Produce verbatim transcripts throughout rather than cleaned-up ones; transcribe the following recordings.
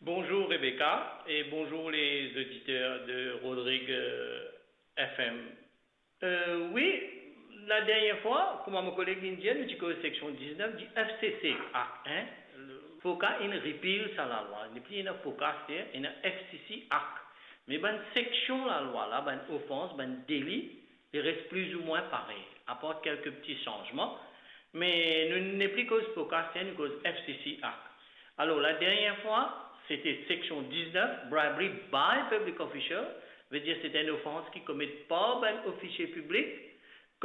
Bonjour Rebecca et bonjour les auditeurs de Rodrigue, euh, F M. Euh, wi, ladernie fwa, kouma mo koleg inn dir, nou ti koz seksion diznef di F C C Act, hein. FOCA inn repeal sa lalwa, nepli ena FOCA, se ena F C C Act. Me bann seksion lalwa la, bann ofans, bann deli, li res plizoumwin parey, apar kelke pti sanzman. Me nou nepli koz FOCA, se nou koz F C C Act. Alor, ladernie fwa, sete seksion diznef, bribery by public official, vedir sete enn ofans ki komet par bann ofisie piblik,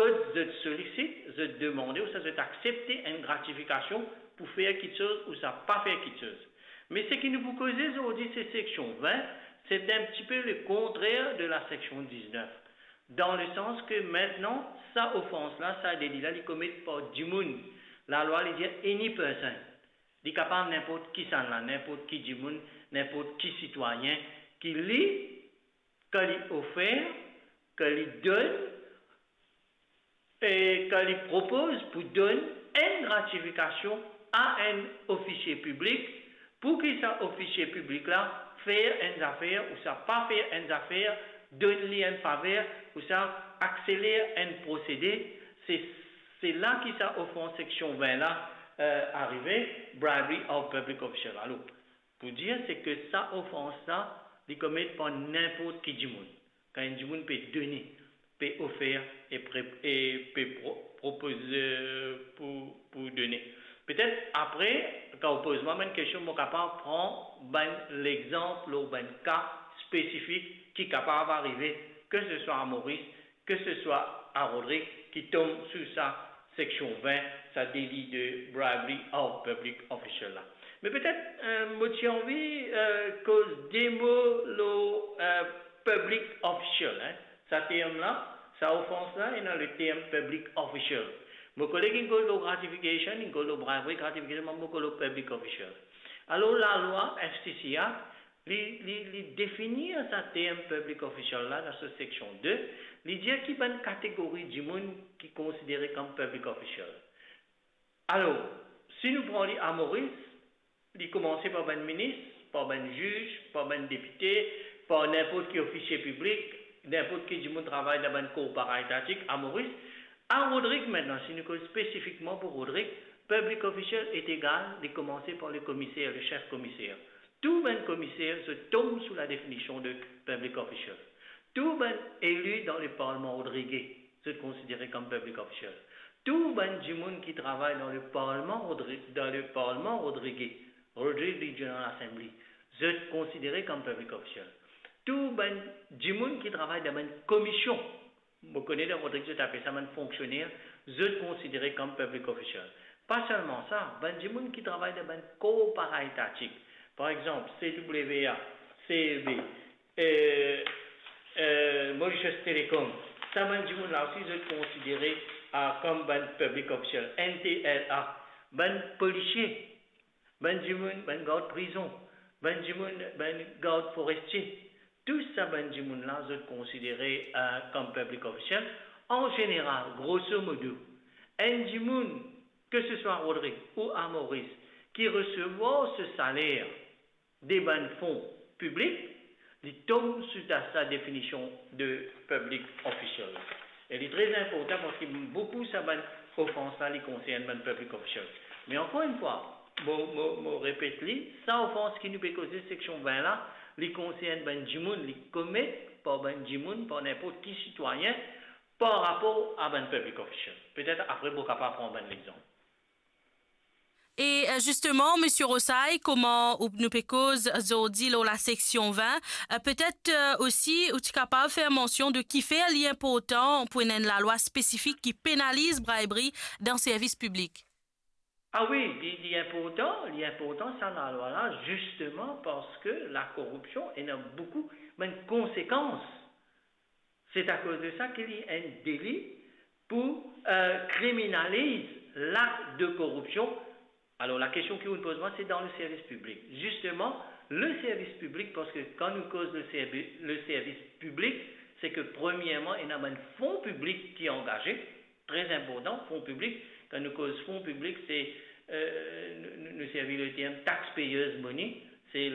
kot zot solisit, zot demande, ouswa zot aksepte enn gratifikasion pou fer kitsoz ouswa pa fer kitsoz. Me seki nou pou koze zordi, se seksion vin, se enn tipe le kontrer de la seksion diznef. Dan le sans ke mintnan, sa ofans la, sa deli la, li komet par dimoun. Lalwa, li dir any person. Li kapav ninport kisannla, ninport ki dimoun, ninport ki sitwayin, ki li, kan li ofer, kan li donn, e kan li propoz pou donn enn gratifikasion a enn ofisie piblik, pou ki sa ofisie piblik la fer enn zafer ouswa pa fer enn zafer, donn li enn faver ouswa akseler enn prosede, se, se la ki sa ofans seksion vin la, eh, arive, bribery of public official. Alor, pou dir, se ke sa ofans la, li komet par ninport ki dimoun. Kan enn dimoun pe done, pe ofer e pre-, e pe pro-, propoze pou, pou done. Petet apre, kan ou poz mwa bann kestion, mo kapav pran bann lexanp lor bann ka spesifik ki kapav arive, ke se swa a Moris, ke se swa a Rodrig, ki tom sou sa seksion vin, sa deli de bribery of public official la. Me petet, eh, mo ti anvi, eh, koz de mo lor, eh, public official, hein. Sa term la, sa ofans la, ena le term public official. Mo koleg inn koz lor gratification, inn koz lor bribery, gratification, mo koz lor public official. Alor, lalwa F C C Act, li, li, li definir sa term public official la dan so seksion de, li dir ki bann kategori dimoun ki konsidere kom public official. Alor, si nou pran li a Moris, li koumanse par bann minis, par bann ziz, par bann depite, par ninport ki ofisie piblik, ninport ki dimoun travay dan bann kor paraetatik a Moris. A Rodrig mintnan, si nou koz spesifikman pou Rodrig, public official est égal, li koumanse par le komiser, le sef komiser. Tou bann komiser, zot tom sou la definision de public official. Tou bann eli dan le parlman rodrige, zot konsidere kom public official. Tou bann dimoun ki travay dan le parlman rodri-, dan le parlman rodrige, Rodrigues Regional Assembly, zot konsidere kom public official. Tou bann dimoun ki travay dan bann komisyon, mo kone dan Rodrig zot apel sa bann fonksioner, zot konsidere kom public official. Pa selman sa, bann dimoun ki travay dan bann kor paraetatik, par exanp, C W A, C E B, eh, eh, Mauritius Telecom, sa bann dimoun la osi, zot konsidere, ah, kom bann public official, N T L A, bann polisie, bann dimoun, bann gard prizon, bann dimoun, bann gard forestie, tou sa bann dimoun la, zot konsidere, eh, kom public official. An zeneral, grosso modo, enn dimoun, ke se swa Rodrig ou a Moris, ki resevwar so saler de bann fon piblik, li tom sou sa definision de public official. E li tre inportan parski boukou sa bann ofans la, li konsern bann public official. Me ankor enn fwa, mo, mo, mo repet li, sa ofans ki nou pe koze seksion vin la, li konsern bann dimoun, li komet par bann dimoun, par ninport ki sitwayin, par rapor a bann public official. Petet apre, mo kapav pran bann lexanp. E, eh, zisteman, Misie Rosay, kouma ou, nou pe koz zordi lor la seksion vin, eh, petet, eh, osi, ou ti kapav fer mansion de kifer li inportan pou ena enn lalwa spesifik ki penaliz bribery dan servis piblik? Ah wi, li, li inportan, li inportan sa lalwa la, zisteman parski lakoripsion ena boukou bann konsekans. Se akoz de sa ki li enn deli pou, eh, kriminaliz lak de koripsion. Alor, lakestion ki ou poz mwa, se dan le servis piblik. Zisteman, le servis piblik, parski kan nou koz le servi-, le servis piblik, se ke premierman, ena bann fon piblik ki angaze, tre inportan, fon piblik. Kan nou koz fon piblik, se, eh, nou, nou, nou servi le term taxpayers' money,